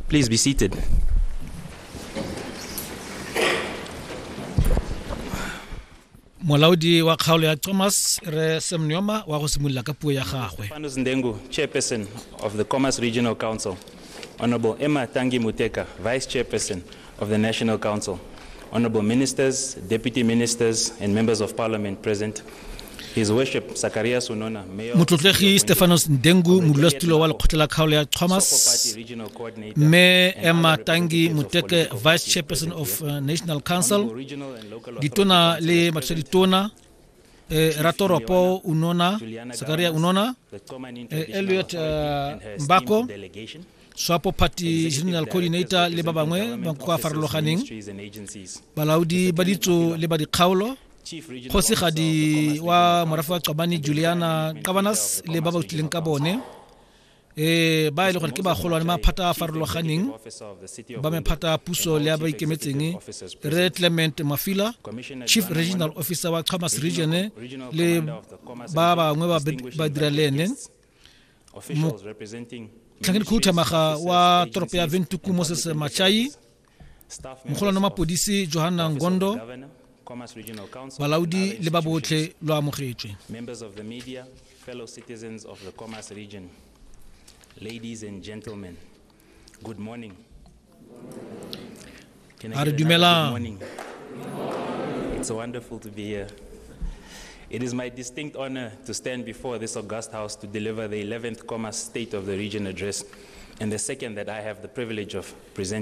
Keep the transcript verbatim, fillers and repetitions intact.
Please be seated. Molaodi wa kgaolo ya Khomas re Sam Nujoma wa go simolola ka puo ya gagwe. Stephanus Ndengu, Chairperson of the Khomas Regional Council, Honorable Emma Tangi Muteka, Vice Chairperson of the National Council, Honorable Ministers, Deputy Ministers, and Members of Parliament present, His Worship Zacharias Unona, Mayor of Motlotlegi Stephanus Ndengu, modulasetulo wa lekgotla la kgaolo ya Khomas, mme Emma Tangi Muteke, Vice Chairperson of uh, National Council, ditona le mathusaditona, eh, ratoropo Unona, Zacharias Unona, eh, Elliot uh, Mbako, Swapo Party General Coordinator le ba bangwe ba kwa farologaneng, balaodi ba ditso le ba dikgaolo, kgosigadi wa morafe wa Qobane Juliana Qabanas le ba ba utlwileng ka bone, eh ba e le gore ke bagolwane maphata a farologaneng ba mephata a puso le a ba ikemetseng, re Clement Mafila, Chief Regional Officer wa Khomas Region le ba bangwe ba ba dira le ene, motlhankedi khuduthamaga wa toropo ya Windhoek Moses Machai, mogolwane wa mapodisi Johanna Ngondo, balaodi le ba botlhe lo amogetswe. Members of the media, fellow citizens of the Khomas region, ladies and gentlemen, good morning. Can I A re get another dumelang. good morning? It's wonderful to be here. It is my distinct honor to stand before this august house to deliver the eleventh Khomas State of the Region Address and the second that I have the privilege of presenting.